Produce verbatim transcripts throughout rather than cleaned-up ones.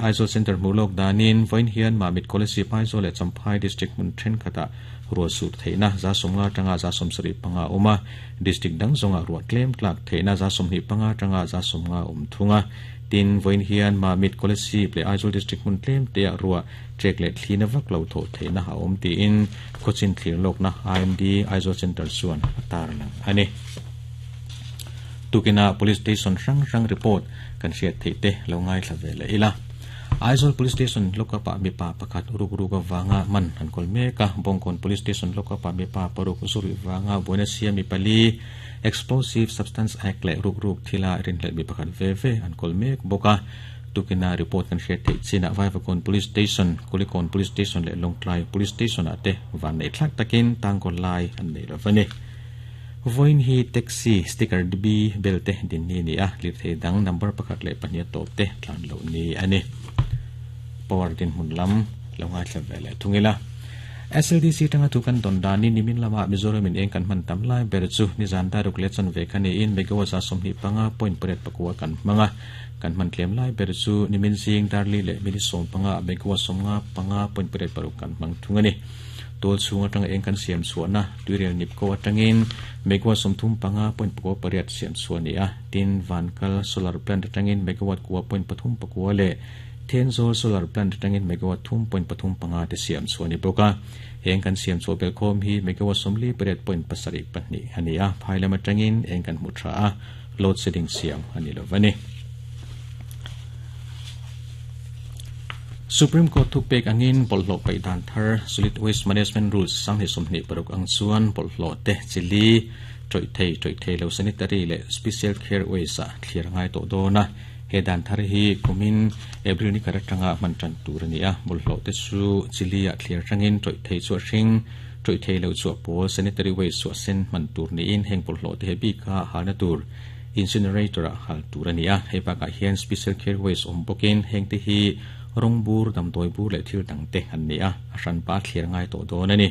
Aizawl Center hmuh danin vawiin hian Mamit Kolasib Aizawl leh Champhai District hmun thenkhatah ruah sur theihna za sawmnga atanga za sawmsarih panga a awm a, District dang zawngah ruah tlem tlak theihna za sawmhnih panga atanga za sawmnga a awm thung a. Tin, vawiin hian Mamit Kolasib leh Aizawl District hmun tlem teah ruah trek leh thlina vak lo thawh theihna a awm tiin khawchin thlir lawkna I M D Aizawl Center chuan a tarlang a ni. Tukina Police Station hrang hrang report kan hriat theih te lo ngaithla ve leh ila. Aizawl Police Station lockup-ah mipa pakhat ruk ruk avanga man an kawl mek a, Bawngkawn Police Station lockup-ah mipa paruk zurih vanga buaina siam mi pali, Explosive Substance Act leh ruk ruk thila rinhlelh mi pakhat ve ve an kawl mek bawk a. Tukina report kan hriat theih chinah Vaivakawn Police Station, Kulikawn Police Station leh Lawngtlai Police Station-ah te van neih thlak takin tangkawl lai an nei lo va ni. Vawiin hi taxi sticker D B bel te din ni a ni a, lirthei dang number pakhat leh pahnih a tawp te tlan loh ni a ni. Power dinhmun lam lo ngaithla ve leh thung ila. S L D C tanga thu kan dawn danin nimin lama Mizoramin eng kan hman tam lai ber chu nizan daruk leh chawn ve kha niin megawatt za sawmhnih panga point pariat pakua kan hmang a. Kan hman tlem lai ber chu nimin zing darli leh mini sawm panga megawatt sawmnga panga point pariat paruk kan hmang thung a ni. Tual chhung atanga eng kan siam chhuahna tuirel nipko atangin megawatt sawmthum panga point pakua pariat siam chhuah a ni a. Tin, Vankal solar plant atangin megawatt kua point pathum pakua leh Thenzawl solar plant atangin megawatt thum point pathum panga te siam chhuah a ni bawk a. Eng kan siam chhuah bel khawm hi megawatt sawmli pariat point pasarih pahnih a ni a. Phai lam atangin eng kan hmu tha a, load shedding siam a ni lo va ni. Supreme Court thupek angin bawlhhlawh paih dan thar Solid Waste Management Rules sanghnih sawmhnih paruk ang chuan bawlhhlawh te chili, tawih thei, tawih thei lo sanitary leh special care waste ah thlir a ngai tawh dawn a. He dan thar hi kumin April ni khat atanga hman tan tur a ni a. Bawlhhlawh te chu chili ah thlir atangin tawih thei chu a hring, tawih thei lo chu a pawl, sanitary waste chu a sen hman tur niin heng bawlhhlawh te he bika halna tur incinerator ah hal tur a ni a. Hei bakah hian special care waste awm bawkin heng te hi rawng bur, damdawi bur leh thil dang te an ni a, a hran pa thlir ngai tawh dawn a ni.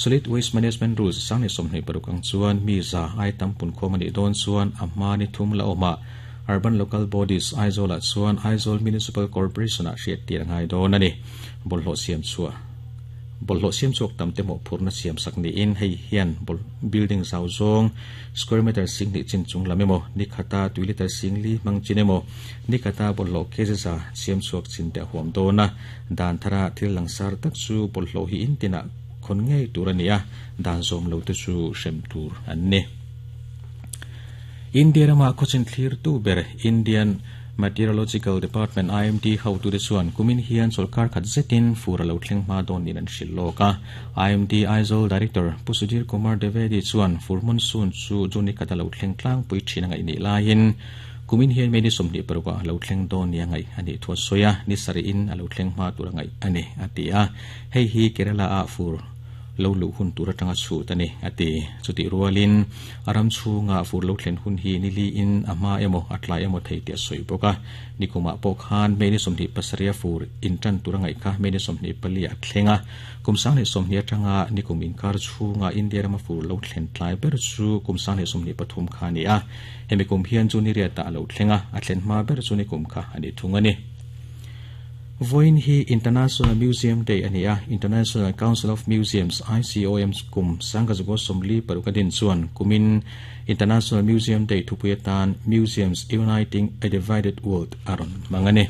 Solid Waste Management Rules sanghnih sawmhnih paruk ang chuan mi za ai tam pun khawm a nih dawn chuan a hma ni thum la awm a, Urban Local Bodies Aizawl-ah chuan Aizawl Municipal Corporation-ah hriat tir a ngai dawn a ni. Bawlhhlawh siam chhuah Bawlhhlawh siam chhuak tam te mawhphurhna siam sak niin hei hian building zau zawng square meter sing hnih chin chung lam emaw, ni khata tui liter sing li hmang chin emaw, ni khata bawlhhlawh kg za siam chhuak chin te a huam dawn a. Dan thara thil langsar tak chu bawlhhlawh hi in tinah khawn ngei tur a ni a, dan zawm lo te chu hrem tur an ni. India rama khawchin thlir tu ber Indian Meteorological Department I M D ho tute chuan kumin hian chawlhkar khat zetin fur a lo thleng hma dawn niin an hrilh lawk a. I M D Aizawl Director Pu Sudhir Kumar Dwivedi chuan fur monsoon chu June ni khat a lo thleng tlangpui thin a ngaih nih laiin kumin hian May ni sawmhnih parukah a lo thleng dawn ni a ngaih a nih thu a sawi a, ni sarih in a lo thleng hma tur a ngaih a ni a ti a. Hei hi Kerala ah fur lo luh hun tur atanga chhut a ni a ti. Chutih rualin a ram chhunga fur lo thlen hun hi ni li in a hma emaw a tlai emaw thei tih a sawi bawk a. Nikumah pawh khan May ni sawmhnih pasarih a fur in tan tur a ngaih kha May ni sawmhnih pali a thleng a. Kum sanghnih sawmhnih atanga nikum inkar chhunga India rama fur lo thlen tlai ber chu kum sanghnih sawmhnih pathum kha a ni a. Hemi kum hian chu ni riatah a lo thleng a, a thlen hma ber chu nikum kha a ni thung a ni. Vawiin hi International Museum Day a ni a, International Council of Museums, I C O M, kum sangkazukaw sawmli paruk a din chuan kumin International Museum Day thupui atan Museums Uniting a Divided World a rawn hmang a ni.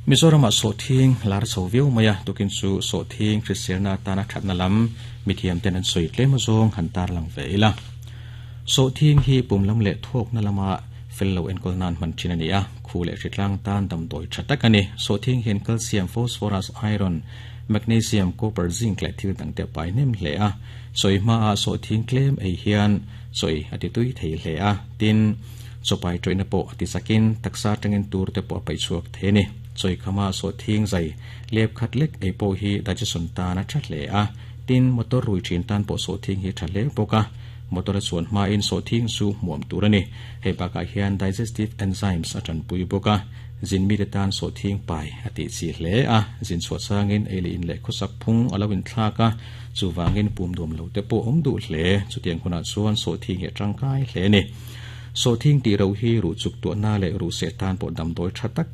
Mizoramah sawhthing lar chho viau mai a, tukin chu sawhthing hriselna atana thatna lam mithiam ten an sawi tlem zawng han tarlang ve ila. Sawhthing hi pum lam leh thawkna lama fel lo enkawl nan hman thin a ni a, khu leh hritlang tan damdawi tha tak a ni. Sawhthing hian calcium, phosphorus, iron, magnesium, copper, zinc leh thil dang te a pai hnem hle a. Sawi hmaah sawhthing tlem ei hian sawi a ti tui thei hle a, tin chawpai tawihna pawh a ti chakin taksa atangin tur te pawh a paih chhuak thei a ni. Chawi khama sawhthing zai lep khat lek ei pawh hi digestion tan a tha hle a, tin motor rui thin tan pawh sawhthing hi tha hle bawk a. Motor a chuan hmain sawhthing chu hmuam tur a ni. Hei bakah hian digestive enzymes a tanpui bawk a, zin mite tan sawhthing pai a tih chi hle a, zin chhuah changin ei leh in leh khawsak phung a lo inthlak a, chuvangin pum duam lo te pawh awm duh hle. Chutiang hunah chuan sawhthing hi a tangkai hle a ni. So thing ti ro hi ru chuk tu na le ru se tan po dam doi thatak.